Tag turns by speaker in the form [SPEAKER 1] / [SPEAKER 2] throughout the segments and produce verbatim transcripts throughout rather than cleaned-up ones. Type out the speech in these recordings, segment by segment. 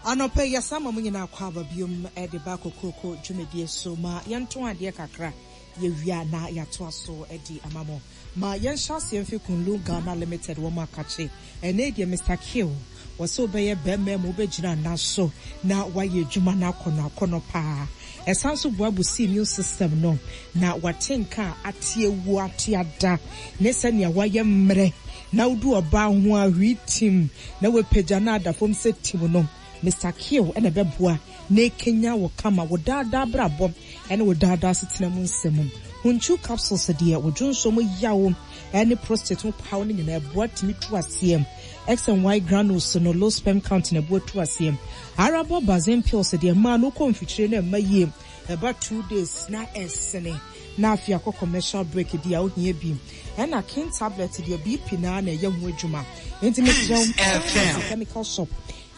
[SPEAKER 1] Anɔpa yi, yɛsan ma mo nyinaa kɔ aba biom de ba Kokroko dwumadie so. Ma yɛnto adeɛ kakra, yɛwie a na yɛatoa so de ama mo. Ma yɛnhyɛ aseɛ mfi Kunlun Ghana Limited wɔn akakye. Ɛnɛ deɛ Mister Kill wɔ sɛ wobɛyɛ bɛrima mu, wobɛgyina ana so na wayɛ adwuma no akɔnɔ akɔnɔ paa. Ɛsan so boa boost immune system no na wate nka a ate ewu ate ada ne sɛnea wayɛ mmerɛ na wodu ɔbaa ho a hwii tim na wapagya no ada fam sɛ tim no. Mister Kill ɛna ɛbɛboa na ekenya wɔ kama wɔ daadaa brabɔ ɛne wɔ daadaa setena mu nsɛm. Hunchu capsules deɛ, wɔdwo nso mu yaw ɛne prostate ho paw no nyinaa, ɛboa tumi tu aseɛ. X and Y granules no, low sperm count na ɛboa tu aseɛ. Arabo bazin pills deɛ, mmaa no kɔ mfikyire na ɛma yie, ɛba two days na ɛsene na afei akɔ commercial break di a wohia bi. Ɛna king tablet deɛ, B P naa na ɛyɛ ho adwuma, nti mesrɛ, chemical shop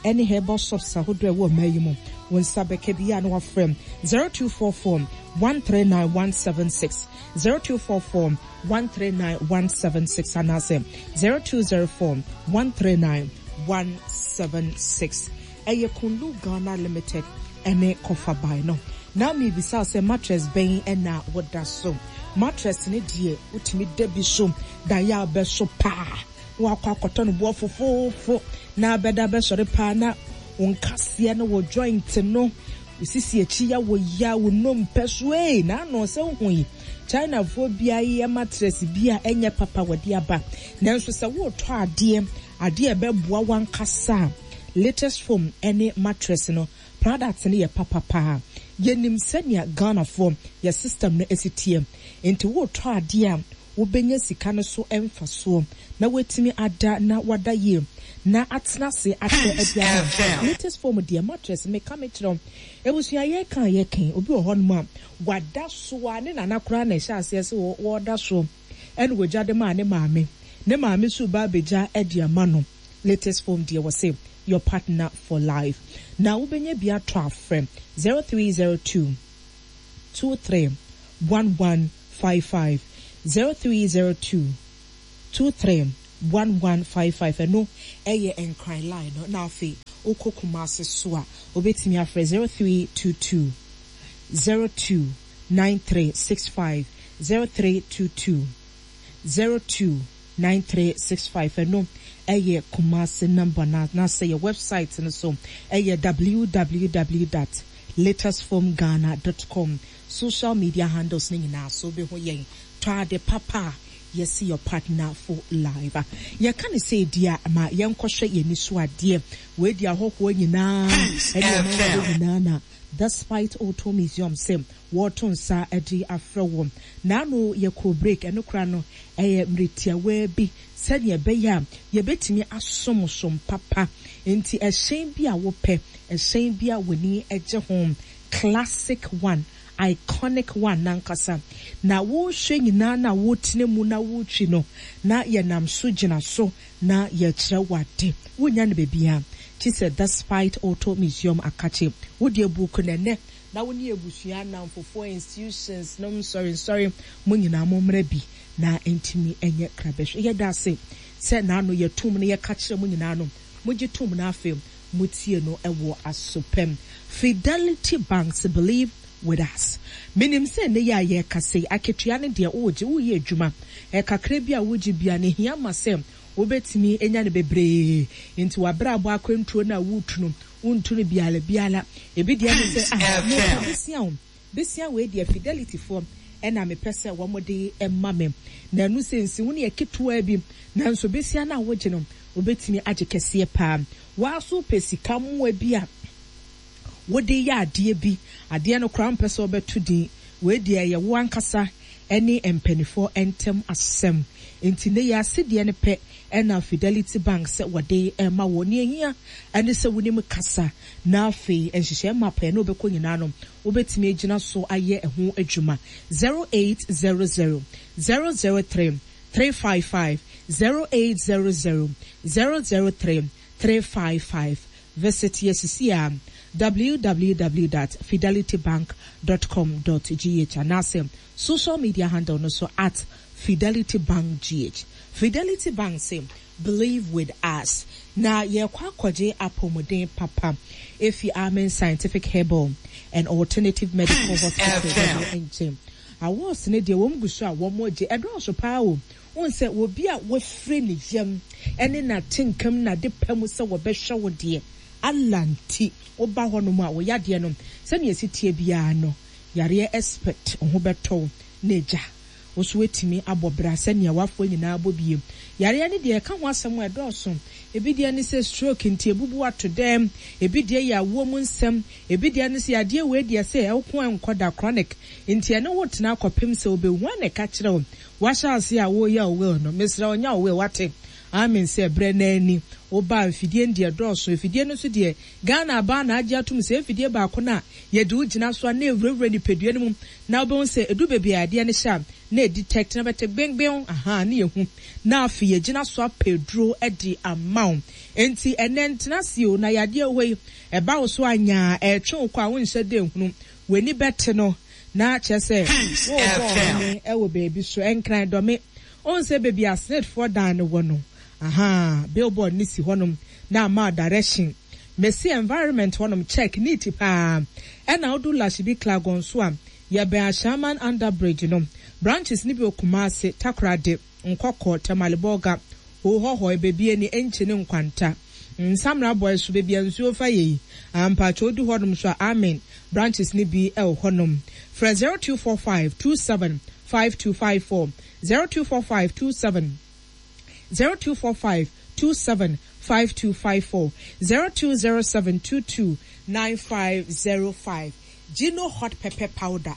[SPEAKER 1] ɛne herbal shops ahodoɔ ɛwɔ ɔman yi mu, wɔn nsa bɛka bi a na wafrɛ zero two four four one three nine one seven six, zero two four four one three nine one seven six anaasɛ zero two zero four one three nine one seven six. Ɛyɛ Kunlu Ghana Limited ɛne kɔfa no. Na mebisa sɛ mattress bɛn ɛna wɔda so? Mattress ne deɛ wotumi da bi so da yɛ abɛ so paa na wakɔ akɔtɔ no boɔ fofoofo na abɛda bɛsɔre paa na wo nkaseɛ no wɔ joint no osisi akyi ya wɔ ya wo nnompe so ee. Na ano sɛ wohu yi, Chinafoɔ bia yɛ mattress bi a ɛnyɛ papa wɔde aba, nanso sɛ woretɔ adeɛ adeɛ a ɛbɛboa wankasa a, Latest Foam ɛne mattress no product no yɛ papapaa. Yɛnim sɛnea Ghanafoɔ yɛ system no esi teɛ, nti woretɔ adeɛ a wobɛnya sika no so mfasoɔ na woatumi ada na wada yie na atena ase akyɛ aduane. Latest Foam deɛ, mattress, meka me kyerɛw, ebusua, yɛka yɛka obi wɔ hɔnom a wada so a ne nana koraa na ɛhyɛ aseɛ sɛ wɔda so ɛna wɔgya de maa ne maame, ne maame so ba abɛgya ɛde ama no. Latest Foam deɛ, wɔ sɛ your partner for life, na wobɛnya bi atɔ afrɛ zero three zero two two three one one five five, zero three zero two two three one one five five. Ɛno ɛyɛ Nkran line no, na afei wokɔ Kumase so a, wobɛtumi afrɛ zero three two two zero two nine three six five, zero three two two zero two nine three six five. Ɛno ɛyɛ Kumase number na na sɛ yɛ website no so ɛyɛ w w w dot latestfoamghana dot com. Social media handles ne nyinaa so wobɛhu yɛn. Tɔ ade papa a yɛsi your partner for life. Yɛka ne sɛ edi a ma yɛnkɔhwɛ yɛn ani so adeɛ. Wei di ahɔhoɔ nyinaa ɛne ɔmanfoɔ nyinaa na Despite Auto Museum sɛ wɔreto nsa de afrɛ wɔn. N'ano yɛkɔ break, ɛno kora no ɛyɛ mmeretiawa bi sɛdeɛ ɛbɛyɛ a yɛbɛtumi asomsom papa. Nti ɛhyɛn bi a wopɛ, ɛhyɛn bi a w'ani gye ho, classic one, iconic one nankasa na wohwɛ nyinaa na wotena mu na wotwi no na yɛnam so gyina so na yɛkyerɛ wade, wonya no baabi kyi sɛ Despite Auto Museum akakye. Wode abuku nɛnɛ na wo ne abusua, namfofoɔ, institutions nom, nsɔre nsɔre mo nyinaa mo mmerɛ bi na ntumi nyɛ krabɛhwɛ. Yɛda ase sɛ n'ano yɛtum no yɛka kyerɛ mo nyinaa no, mogye tom no, afei motie no ɛwɔ asopɛm. Fidelity Banks, believe with us. Menim sɛ ne yɛ a yɛka sɛ akatua no deɛ wogye, woyɛ adwuma ɛkakra bi a wogye bia ne hia ma sɛ wobɛtumi anya no bebree, nti wabrabɔ akwantuo no a wotu no, wontu no biala biala. Ebi deɛ ne sɛ, ah, mepɛ besia o, besia wei deɛ Fidelity foɔ ɛna mepɛ sɛ wɔn de ɛma me, na ɛno sɛ nsi wo ne yɛ ketewa bi, nanso besia no a wogye no, wobɛtumi agye kɛseɛ paa. Waaso pɛ sika mmoa bi a wode yɛ adeɛ bi, adeɛ no koraa mpɛ sɛ wɔbɛto din, wei deɛ ɛyɛ wo ankasa ɛne mpanimfoɔ ntɛm asɛm. Nti ne yɛ asedeɛ no pɛ ɛna Fidelity Bank sɛ wɔde ɛma wɔ ne ehia ɛne sɛ wonim kasa, na afei nhyehyɛ map ɛne wobɛkɔ nyinaa no, wobɛtumi agyina so ayɛ ɛho adwuma. zero eight zero zero zero zero three three five five, zero eight zero zero zero zero three three five five. Visit yɛsisi a w w w dot fidelitybank dot com dot g h anaasɛ social media handle no so at Fidelity Bank G H. Fidelity Bank say believe with us. Na yɛkɔ akɔgye apɔmuden papa efi Amen Scientific Herbal and Alternative Medical Hospital wɔn nkyɛn. Awards ne deɛ, wɔn gu so a wɔn gye, ɛdɔɔso paa o. Wɔn sɛ obi a wɔfiri ne yam ɛne n'atenkam n'ade pɛ mu sɛ wɔbɛhwɛ wo deɛ, Allah nti woba hɔnom a, wɔyɛ adeɛ no sɛnea esi tie biara no, yareɛ expert ho bɛtɔw na egya woso etumi abɔ bra sɛnea wafoɔ nyinaa bɔ bie. Yareɛ no deɛ, ɛka ho asɛm a ɛdɔɔso. Ebi deɛ ne sɛ stroke nti ebubu ato dɛm, ebi deɛ yɛ awoɔ mu nsɛm, ebi deɛ ne sɛ adeɛ wei deɛ sɛ ɛwoko ɛnkɔ da, chronic, nti ɛne wo tena akɔpem sɛ obehu a na ɛka kyerɛ wo. Wahyɛ ase a wɔreyɛ wo will no, mesrɛ ɔnya wo will wate amen sɛ brɛ n'ani woba mfidie no deɛ dɔɔso. Mfidie no nso deɛ, Ghana abaa na agye atom sɛ mfidie baako no a yɛde wo gyina so a na ewurawura nipadua no mu na wobɛhu sɛ edu baabi a adeɛ no hyɛ a na edetect na bɛte gbengbeng aha ne yɛhu na afei yɛgyina so apɛ duro de ama wo. Nti ɛnɛ ntena se o na yadeɛ hɔ yi ɛba wo so anyaa ɛtwe wo kɔ a wonhyɛ dɛ nhunu w'ani bɛte no na kyerɛ sɛ wɔrebɔ ɔhome ɛwɔ baabi so. Ɛnkran Dɔme ɔn sɛ baabi a snitfoɔ dan no wɔ no aha, billboard ne si hɔnom na ama direction. Mesi environment hɔnom check neat paa. Ɛna wodu Lashibi Klagon so a, yɛbɛn Ashaman under bridge no. Branches ne bi wɔ Kumase, Takoradi, Nkɔkɔ, Tamale, Bolga, Hohohɔ, ebebie ne Enkyi ne Nkwanta nsamra bɔɛ so, baabi a nsuo fa yɛ yi ampatwa odu hɔnom so a, amen branches ne bi ɛwɔ hɔnom. Frɛ zero two four five two seven five two five four, zero two four five two seven, zero two four five two seven five two five four, zero two zero seven two two nine five zero five. Gino hot pepper powder,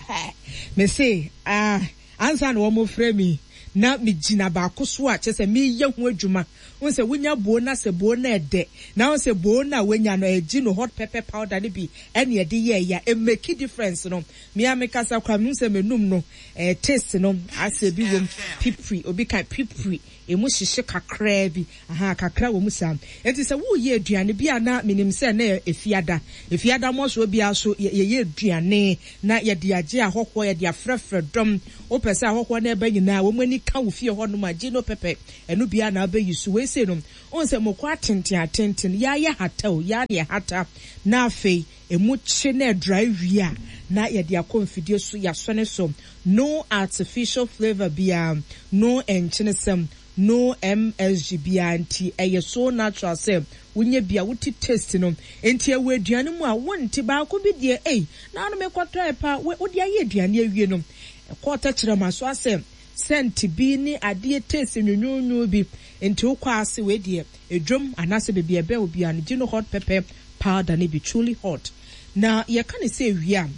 [SPEAKER 1] me se ah, ansa na wɔn frɛ mi na me gyina baako so a kyerɛ sɛ meyɛ ho adwuma. Wɔn sɛ wonya buo na sɛ buo na ɛdɛ na wɔn sɛ buo na wonya no ɛyɛ Gino hot pepper powder no bi ɛna ɛde yɛ ɛya ɛmake difference no. Mmea mi kasa kora mi sɛ menum no, ɛɛ taste no asɛ bi wɔm pipiri, obi ka pipiri emu hyehyɛ kakraa bi aha, kakra wɔ mu saa. Nti sɛ woyɛ aduane bi a, na menim sɛ na efiada efiada mmɔsoɔ biara so yɛyɛ aduane na yɛde agye ahɔhoɔ, yɛde afrɛfrɛ dɔm. Wopɛ sɛ ahɔhoɔ no ɛbɛ nyinaa wɔn ani ka wo fie hɔnom a, Gino pepper ɛno biara na wobɛyi so. Wei sei no, wɔn sɛ moko atenten atenten yɛayɛ hata o, yɛa ne hata na afei emu kye na ɛdry wie a, na yɛde akɔ mfidie so yɛasɔ ne so. No artificial flavour biara, no nkyenesɛm, no M S G biara, nti ɛyɛ so natural sɛ wonyɛ bia wote taste no. Nti ɛwɔ aduane mu a wonte baako bi deɛ, ei, na ano mekɔtɔ ɛpa wode ayɛ aduane awie no, ɛkɔɔ tɛkyerɛma so asɛ scent bi ne adeɛ taste nwonwonwo bi. Nti wokɔ ase, wei deɛ edwom anaasɛ baabi ɛbɛn obi a no, Gino hot pepper powder ne bi truly hot. Na yɛka ne sɛ ewia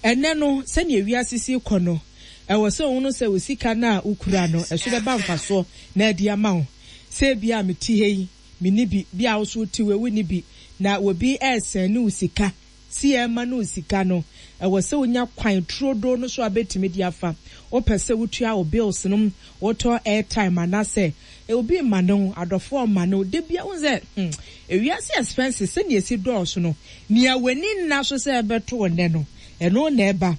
[SPEAKER 1] ɛnɛ no, sɛnea ewiase si kɔ no, ɛwɔ sɛ ohun sɛ o sika no a wokura no ɛso bɛba mfasoɔ na ɛde ama wo. Sɛ ebi a mete ha yi, mini bi bi a woso te wɔ ewu ni bi na obi ɛresɛn ne wo sika si ɛma ne wo sika no, ɛwɔ sɛ wonya kwan turodo no so a bɛtumi de afa. Wopɛ sɛ wotua wo bills no, wotɔ airtime anaasɛ obi ma no, adɔfoɔ ma no de bia wo sɛ hmm ewiase expenses sɛnea esi dɔɔso no, nea w'ani nna so sɛ ɛbɛto wo nnɛ no, ɛno na ɛba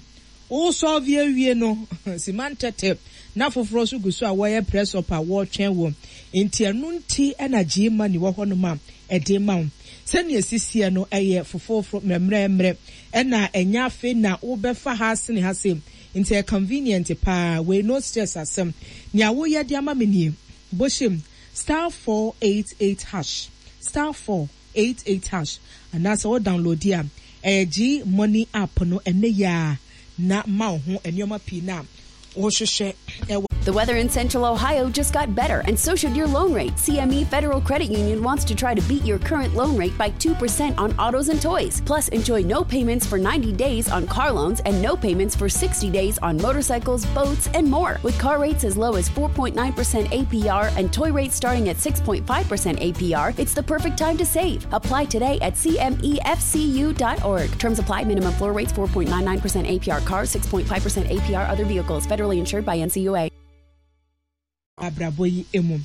[SPEAKER 1] wosɔɔve awie no sima ntɛtɛ na foforɔ nso gu so a wɔyɛ press up a wɔretwɛn wɔ. Nti ɛno nti ɛna gye money wɔ hɔnom a ɛde ma wo. Sɛnea esisiɛ no ɛyɛ foforoforo mmerɛmmerɛmmerɛ, ɛna ɛnya afei na wobɛfa ha sene ha se, nti ɛyɛ convenient paa. Wei no stress asɛm. Nea woyɛ de ama me nie: bɔhyɛm star four eight eight hash, star four eight eight hash, anaasɛ wo download a, ɛyɛ G Money app no. Ɛnɛ yia na ma wo ho nneɛma pii na wɔhwehwɛ ɛwɔ.
[SPEAKER 2] The weather in Central Ohio just got better, and so should your loan rate. C M E Federal Credit Union wants to try to beat your current loan rate by two percent on autos and toys. Plus, enjoy no payments for ninety days on car loans and no payments for sixty days on motorcycles, boats, and more. With car rates as low as four point nine percent A P R and toy rates starting at six point five percent A P R, it's the perfect time to save. Apply today at C M E F C U dot org. Terms apply. Minimum floor rates four point nine nine percent A P R cars, six point five percent A P R other vehicles. Federally insured by N C U A.
[SPEAKER 1] Abrabɔ yi emu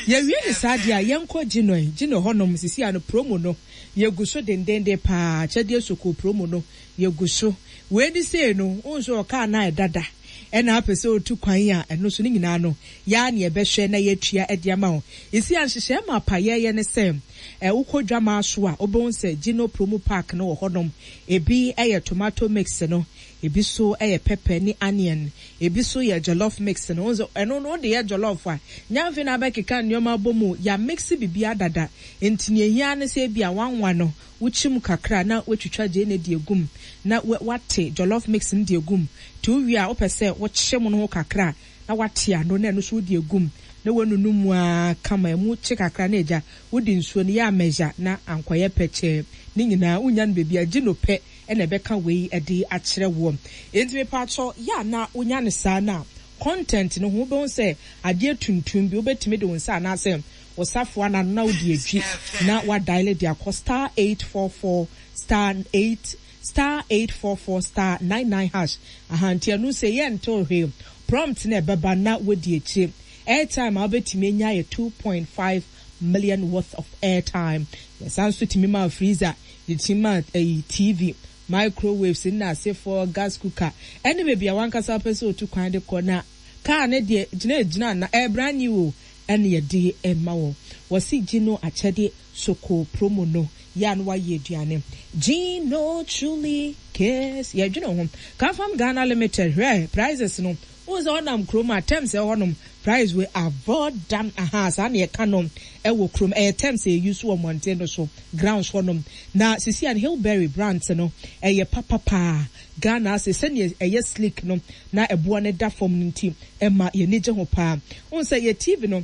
[SPEAKER 1] yɛwie ne saa deɛ a, yɛnkɔ Gyinoe Gyino hɔnom sisi ano. Promo no yɛgu so dendenden paa. Kyɛdeɛ soko promo no yɛgu so. Wei ni sei no, wohu sɛ ɔkaa na ɛdada Ɛna apɛ sɛ otu kwan a, ɛno so ne nyinaa no yaa ne yɛbɛhwɛ na yɛatua de ama wo. Esi ahyehyɛ ma pa yɛyɛ ne sɛ ɛ wokɔ dwama so a, wobɛhu sɛ Gino promo pack no wɔ hɔnom. Ebi ɛyɛ tomato mix no, ebi so ɛyɛ pepper ne onion, ebi so yɛ jollof mix no. Nso ɛno no, wode yɛ jollof a, nyamfe na abɛkeka nneɛma abɔ mu ya mix bibi adada. Nti nea ehia ne sɛ ebi a wanwa no, wokyim kakra na woatwitwa gyeene de egum na wate jollof mix no de egum. Te wowie a, wopɛ sɛ wokye mu no ho kakra na wate ano na ɛno nso wode egum na wanunu mu a kama. Emu kye kakra na agya wode nsuo no yɛ amɛgya na ankɔyɛ pɛkyɛɛ. Ne nyinaa wonya no baabi a gye no pɛ ɛna ɛbɛka wei ɛde akyerɛ woɔ. Enti mepatwɔ yɛ a na wonya no saa na content no ho, wobɛhu sɛ adeɛ tuntum bi, wobɛtumi de wo nsa anaasɛ wo safoa na na wode adwi na wadial de akɔ star eight four four star eight star eight four four star nine nine hash. Ahanti ɛno sɛ yɛ nto hwee, prompt na ɛbɛba na wodi akyire. Airtime a wobɛtumi anya yɛ two point five million worth of airtime. Yɛsan nso tumi ma freezer, yɛtumi ma ɛyi T V, microwaves nna asefoɔ, gas cooker, ɛne baabi a wankasa wopɛ sɛ otu kwan de kɔ na kaa ne deɛ gyina gyina na ɛyɛ brand new o, ɛne yɛde ɛma wɔ. Wɔsi Gino akyɛde soko promo no yɛ a no wayɛ aduane. Gino truly cares, yɛdwene ho. Kafam Ghana Limited, hwɛ prices no, wɔn sɛ ɔnam kurom a, terms ɛwɔ hɔnom, price wei avoid dam aha. Saa na yɛka no ɛwɔ kurom, ɛyɛ terms a yɛyi so wɔ mmɔnten no so, grounds hɔnom. Na sisi an Hillberry brand no ɛyɛ papapaa Ghana ase. Sɛnea ɛyɛ sleek no na ɛboɔ no da fam no nti ɛma yɛni gye ho paa. Wɔn sɛ yɛ T V no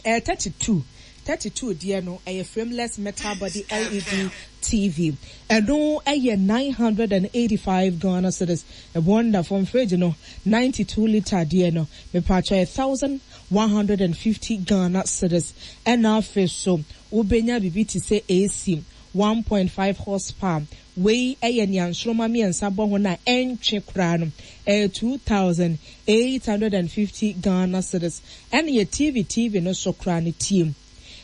[SPEAKER 1] ɛyɛ thirty two thirty two deɛ no, ɛyɛ frameless metal body L E D T V. Ɛno ɛyɛ nine hundred and eighty five Ghana cedis. Ɛbɔn da fam. Fridge no, ninety two litre deɛ no, mepatwa, yɛ thousand one hundred and fifty Ghana cedis. Ɛna afei so wobɛnya biribi te sɛ A C one point five horsepower. Wei ɛyɛ nea nsoroma mmiɛnsa bɔ ho na ɛntwe koraa no, ɛyɛ two thousand eight hundred and fifty Ghana cedis. Ɛna yɛ T V T V no so koraa no, tie,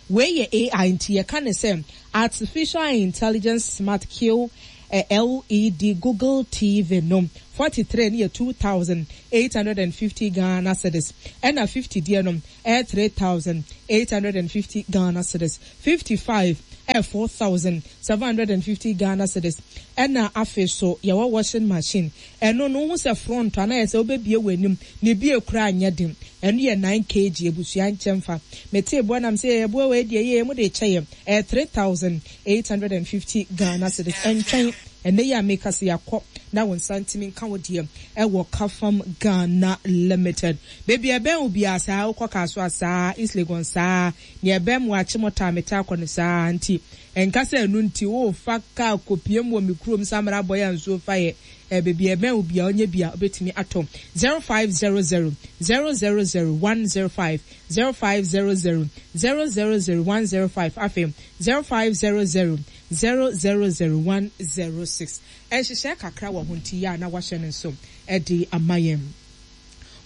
[SPEAKER 1] wei yɛ A I, nti yɛka ne sɛ artificial intelligence smart Q eh, L E D Google T V no, forty three ne yɛ two thousand eight hundred and fifty Ghana cedis. Ɛna fifty deɛ no ɛyɛ three thousand eight hundred and fifty Ghana cedis. Fifty five ɛyɛ four thousand seven hundred and fifty Ghana cedis. Ɛna afei so yɛwɔ washing machine. Ɛno no ho sɛ front anayɛ sɛ wobɛbie wɔ anim ne bie koraa nyɛ den. Ɛno yɛ nine kilograms. Ebusua nkyɛn fa mete eboa nam sɛ eboa wɔ edi ɛyɛ mu de kyɛ yɛ, ɛyɛ three thousand eight hundred and fifty Ghana cedis. Ɛntwɛn ɛnɛ yi a meka sɛ yɛakɔ na wo nsa ntumi nka wo deɛ ɛwɔ Kafam Ghana Limited. Beebi ɛbɛn wo biara saa, wokɔ kaa so a saa, East Legon saa, nea ɛbɛn mu Akyemɔta a mete akɔ no saa. Nti ɛnka sɛ ɛno nti wofa kaa kɔpie mu wɔ me kurom samara bɔ yɛ nsuo fa yɛ ɛ. Beebi ɛbɛn wo biara, ɔnyɛ bia wobɛtumi atɔ. Zero five zero zero zero zero zero one zero five, zero five zero zero zero zero zero one zero five, afei zero five zero zero zero zero zero one zero six. Ɛnhyehyɛ kakra wɔ ho nti yɛ a na wahyɛ no nso ɛde ama yɛn.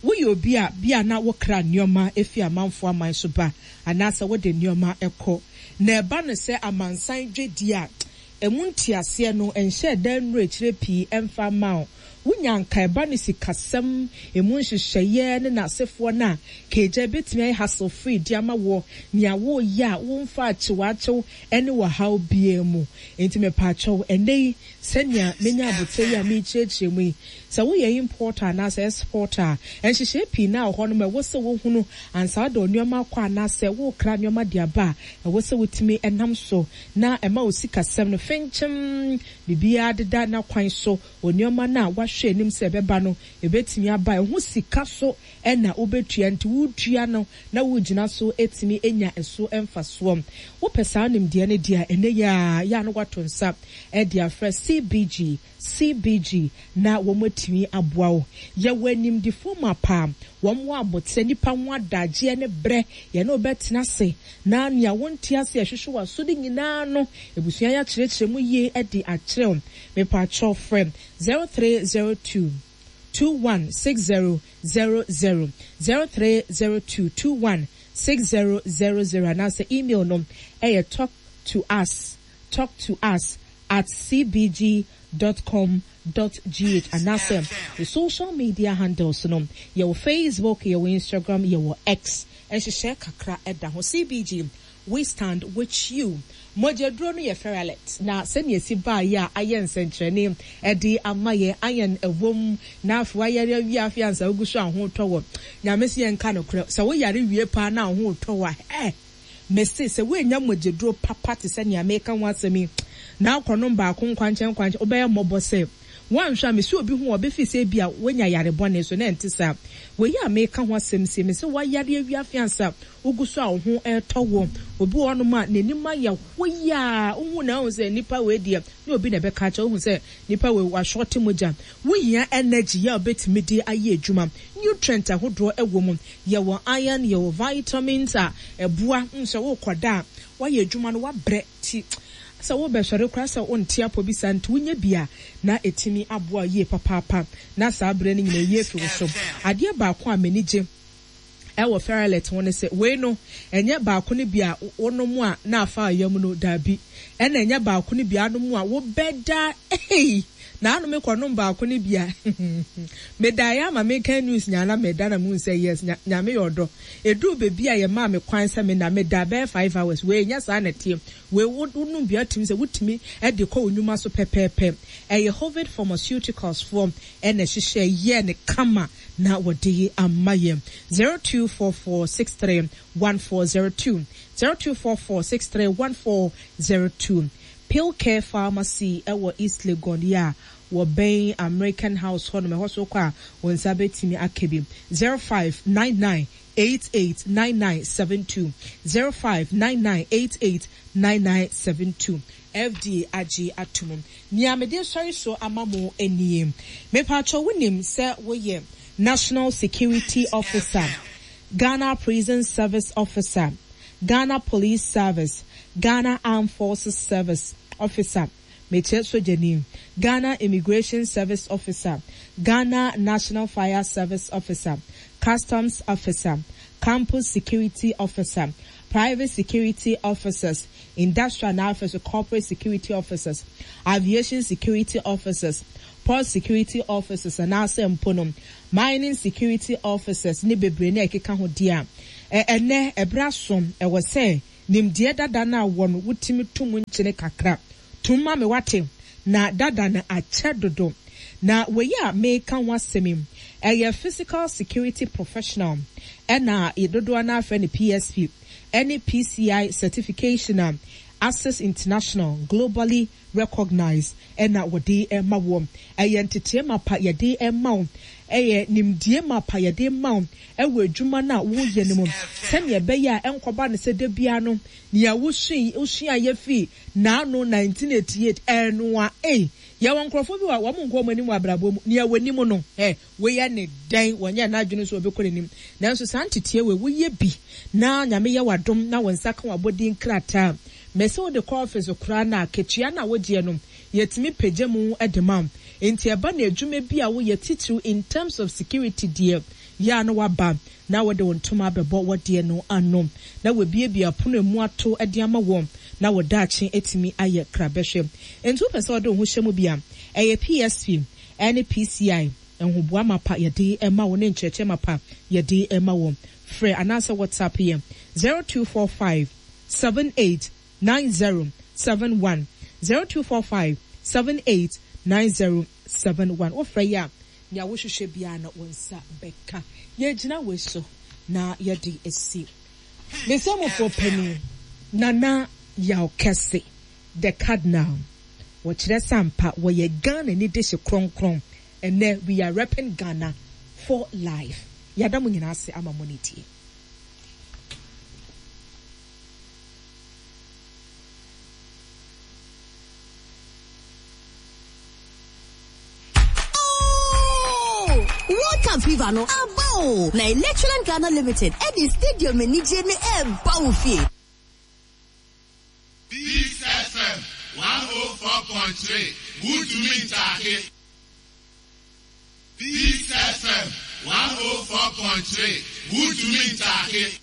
[SPEAKER 1] Woyɛ obi a bia na wokra nneɛma efi amanfoɔ aman so ba anaasɛ wode nneɛma ɛkɔ na ɛba no sɛ amansan dwedi a ɛmu nteaseɛ no nhyɛ dan nnuro akyire pii ɛmfa ma wo. Wonya nka ɛba no sikasɛm emu nhyehyɛeɛ ne n'asefoɔ no a keegya ebɛtumi ayɛ hassle free di ama wɔ nea wɔreyɛ a wɔmfa akyewakyew ne wɔhaw biara mu. Nti mepaakyɛw, ɛnɛ yi sɛnea menya abotire yi a merekyerɛkyerɛ mu yi, sɛ woyɛ importer anaasɛ exporter a, nhyehyɛe pii na wɔ hɔ nom ɛwɔ sɛ wohunu ansa wode nneɛma akɔ anaasɛ wokra nneɛma de aba a, ɛwɔ sɛ wotumi ɛnam so na ɛma wo sikasɛm no fenkyɛm, biribiara deda n'akwan so wɔ nneɛma no a wahwɛ anim sɛ ɛbɛba no, ɛbɛtumi aba ɛho sika so ɛna wobɛtua. Nti wotua no na wogyina so ɛtumi anya ɛso mfasoɔ. Wopɛ saa nimdeɛ no deɛ a, ɛnɛ yɛ a yɛ a no wato nsa ɛde afrɛ C B G C B G na wɔn atumi aboa wo. Yɛwɔ animdifoɔ ma paa, wɔn wɔ abotire nipa ho adagyeɛ ne brɛ yɛne wobɛtena ase na nea wɔnte ase ɛhwehwɛ wɔ aso de nyinaa no, ebusua yɛ akyerɛkyerɛ mu yie de akyerɛw. Mepatwɔ, frɛ zero three zero two two one six zero zero zero, zero three zero two two one six zero zero zero, anaasɛ email no ɛyɛ talk to us talk to us at C B G dot com dot g h anaasɛ the social media handles no, yɛwɔ Facebook, yɛwɔ Instagram, yɛwɔ X. Nhyehyɛ kakra ɛda ho. C B G, we stand with you. Mogyaduro no yɛ Ferralet, na sɛnea esi baayɛ a ayɛ nsɛnkyerɛnne ɛde ama yɛ ayɛn ɛwom na afei wayare awie, afei ansa ogu so ahotɔ wɔ Nyame si yɛn nka no korɛ sɛ woyare wie paa na ahotɔ wɔ ɛ mese sɛ woanya mogyaduro papa te sɛ nea meka ho asɛm yi na akɔnom baako nkwankyɛn nkwankyɛn, wobɛyɛ mmɔbɔ sɛ woanhwɛ a mesi obi ho a ɔbɛfi sɛ bi a woanya yare bɔne so na ɛnte saa. Wei a meka ho asɛm sie me sɛ woayare awie, afei ansa wogu so a wo ho ɛretɔ wɔ obi wɔ hɔnom a n'anim ayɛ hoyaa, wohu na wohu sɛ nipa wei deɛ ne obi na ɛbɛka kyerɛ, wohu sɛ nipa wei wahyɔte mogya. Wohia energy yɛ a wobɛtumi de ayɛ adwuma. Nutrient ahodoɔ ɛwɔ mu, yɛwɔ iron, yɛwɔ vitamins a ɛboa sɛ wokɔda a woayɛ adwuma no wabrɛ ti sɛ wobɛsɔre koraa sɛ wonte apɔ bi saa, nti wonya bi a na ɛtumi aboa yie papaapa na saa berɛ no nyina yie fi wo so. Adeɛ baako a m'ani gye ɛwɔ Ferralet ho ne sɛ wei no ɛnyɛ baako no bi a wonom a na afa yam no, daabi, ɛna ɛnyɛ baako no bi anom a wobɛda. Ei, na anom kɔnom baako no bi a medaeɛ ama meka news nyana meda na muhu sɛ yes, Nyame yɛ ɔdɔ. Ɛduru baabi a yɛmaa me kwan sɛ me na meda bɛyɛ five hours. Wei nyɛ saa na ɛteɛ. Wei wonom bi atumi sɛ wotumi de kɔ wo nnwuma so pɛpɛɛpɛ. Ɛyɛ Hovid Pharmaceuticals foɔ ɛna ɛhyehyɛ yɛ ne kama na wɔde ama yɛn. zero two four four six three one four zero two, zero two four four six three one four zero two. Pill Care Pharmacy ɛwɔ East Legon yi a wɔbɛn American House hɔnom, ɛhɔ so kɔ a wɔn nsa bɛtumi aka bi. zero five nine nine eight eight nine nine seven two, zero five nine nine eight eight nine nine seven two. F D A agye atum. Nea mede sɔre so ama mo nie: mepatwɛ, wonim sɛ woyɛ National Security Officer, Ghana Prison Service Officer, Ghana Police Service, Ghana Armed Forces Service Officer, mekyerɛ sogyani, Ghana Immigration Service Officer, Ghana National Fire Service Officer, Customs Officer, Campus Security Officer, Private Security Officers, Industrial and officer, Corporate Security Officers, Aviation Security Officers, Port Security Officers, anaasɛ mpo no Mining Security Officers ne bebree na ɛkeka ho deɛ a, ɛnɛ ɛberɛ asom ɛwɔ sɛ nimdeɛ dada no a wɔ no wotumi to mu nkyene kakra tum ma me wate na dada no akyɛ dodo. Na wei a meka ho asɛm yi ɛyɛ Physical Security Professional, ɛna dodoɔ no afrɛ no P S P, ɛne P C I certification a Access International globally recognized ɛna wɔde ɛma wɔ. Ɛyɛ nteteɛ mapa yɛde ɛma wo, ɛyɛ nimdeɛ mapa yɛde ma wo ɛwɔ adwuma no a woyɛ no mu, sɛnea ɛbɛyɛ a ɛnkɔba no sɛ da bia no nea wosua wosua yɛ fi naano nineteen eighty-eight ɛnoa. Ei, yɛwɔ nkurɔfoɔ bi wɔ wɔn nkɔ wɔn anim wɔ abrabɔ mu, nea wɔ anim no ɛ wɔyɛ ne dɛn wɔnyɛ n'adwene so wɔbɛkɔ n'anim. Nanso saa nteteɛ wɔ woyɛ bi na Nyame yɛ wadom na wɔn nsa ka wɔn abɔden krataa mɛsɛ wode kɔ office koraa na akatua no a wogyeɛ no yɛtumi pagya mu de ma wo. Nti ɛba na adwuma bi a woyɛ titiriw in terms of security deɛ yɛ a no waba na wɔde wɔn ntoma abɛbɔ wɔdeɛ no ano na wɔabiebie apono emu ato de ama wɔn na wɔdaakye atumi ayɛ krabɛhwɛ. Nti wopɛ sɛ wɔde wo ho hyɛ mu bi a, ɛyɛ P S P ɛne P C I nhoboa mapa yɛde ma wo ne nkyerɛkyerɛ mapa yɛde ma wɔn. Frɛ anaasɛ WhatsApp yɛ zero two four five seven eight nine zero seven one, zero two four five seven eight nine zero seven one. Wofrɛ yi a, nea wohwehwɛ biara no wo nsa bɛka. Yɛgyina wei so na yɛde esi mesɛmofoɔ panin Nana Yaw Kɛse the Cardinal. Wɔkyerɛ sampa wɔyɛ Ghana ni de hye kronkron. Ɛnɛ we are repping Ghana for life. Yɛada mo nyinaa ase ama mo ne tie.
[SPEAKER 3] World Cup fever no aba o, na Electroland Ghana Limited ɛde stadium anigye ne ɛba wo fie.
[SPEAKER 4] Peace F M one oh four point three, wotumi ntaake. Peace F M one oh four point three, wotumi ntaake.